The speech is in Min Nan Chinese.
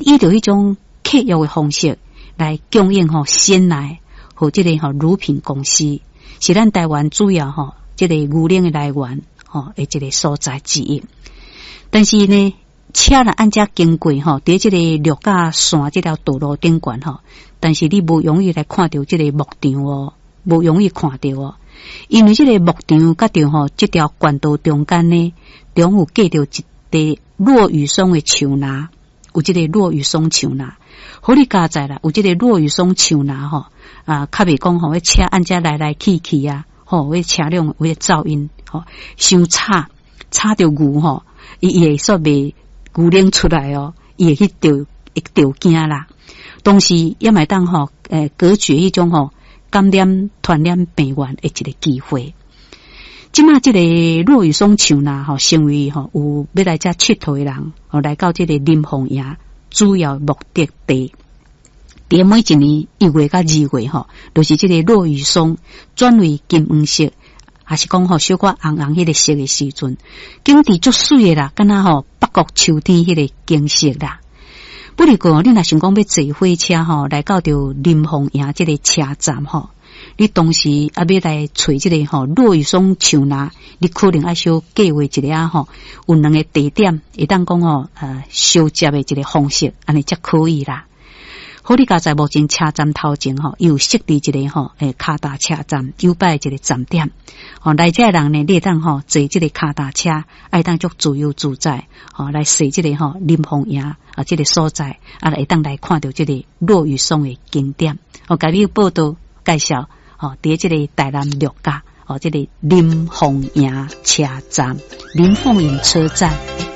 依著彼種契約的方式來供應吼鮮奶予這个吼乳品公司，是咱台灣主要吼這个牛奶的來源吼的一个所在之一。但是呢，車若按遮經過吼，佇這个鹿甲山這條道路頂懸吼，但是你無容易來看著這个牧場哦，無容易看著哦，因為這个牧場佮著吼這條縣道中間呢，中有隔著一塊落羽松的樹林，有這个落羽松樹林，好你佳哉啦，有這个落羽松樹林吼，啊，較袂講吼，彼車按遮來來去去啊，吼，彼車輛有彼噪音，吼，傷吵，吵著牛吼，伊伊會煞袂牛奶出來哦，伊會去著會著驚啦。同時也嘛會當吼，隔絕彼種吼感染傳染病源的一个機會。這馬這个落羽松樹林吼，成為吼有欲來遮𨑨迌的人吼，來到這个林鳳營主要目的地。佇每一年1月佮2月吼，就是這个落羽松轉為金黃色，還是講吼小可紅紅彼个色的時陣，景致足媠的啦，敢若吼北國秋天彼个景色啦。不過，你若想講欲坐火車吼，來到著林鳳營這个車站吼，你當時啊欲來揣這个吼落羽松樹林，你可能愛小計劃一下吼，有兩个地點會當講吼相接的一个方式，按呢才可以啦。好，你佳哉目前車站頭前吼，有設置一个吼，跤踏車站，有擺一个站點。吼，來遮的人呢，你會當吼坐這个跤踏車，會當足自由自在，吼來踅這个吼林鳳營啊，這个所在，啊，會當來看著這个落羽松的景點。我共你報道介紹，吼，佇這个台南鹿甲，吼，這个林鳳營車站，林鳳營車站。